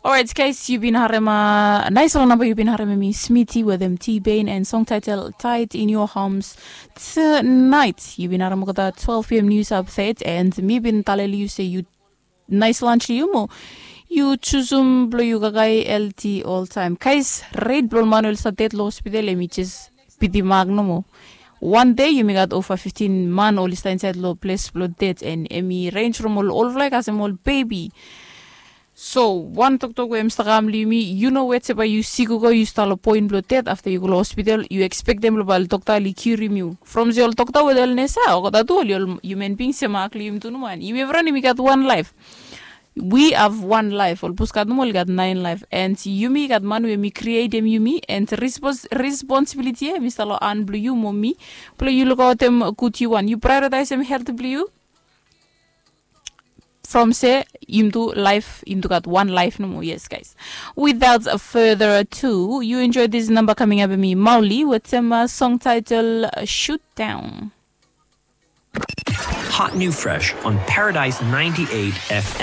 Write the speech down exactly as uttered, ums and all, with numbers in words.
Orait, guys, yu bin harem a nais ol namba yu bin harem em i Smiti wetem T-Bain and song title Tight in Your Arms. Tonight yu bin harem olgeta twelve p.m. news update and mi bin taleli yu se yu nais lunch li yu mo yu chusum blo yu kakae healthy oltaem. Guys, rate blo ol man we oli stap ded lo hospital em i jes piti mak nomo. Wan dei yumi gat ova fiftin man oli stap insaed lo ples blo ded and em i range from ol olfala i kasem ol bebi. So wan toktok we em stap kam long yumi, yu no wet se bae yu sik go yu stap long poen blong ded afta yu go long hospital yu ekspektem long bae ol dokta oli kiurim yu from se ol dokta we ol nesa olgeta tu oli ol human being se mak long yumi tu nomo. And yumi evriwan yumi gat wan laef. We have wan laef. Ol bus gat nomo oli gat naen laef. And yumi gat man we mi krietem yumi and responsibiliti ya mi stap long han blong yu mo mi blong yu lukaotem gud yu wan yu praeoritaesem helt blong yu. From se yum tu laef yum tu gat wan laef nomo. Yes, guys. Without further ado, you enjoy this number coming up mi Mauli with some uh, song title uh, Shoot Down. Hot new fresh on Paradise ninety-eight F M.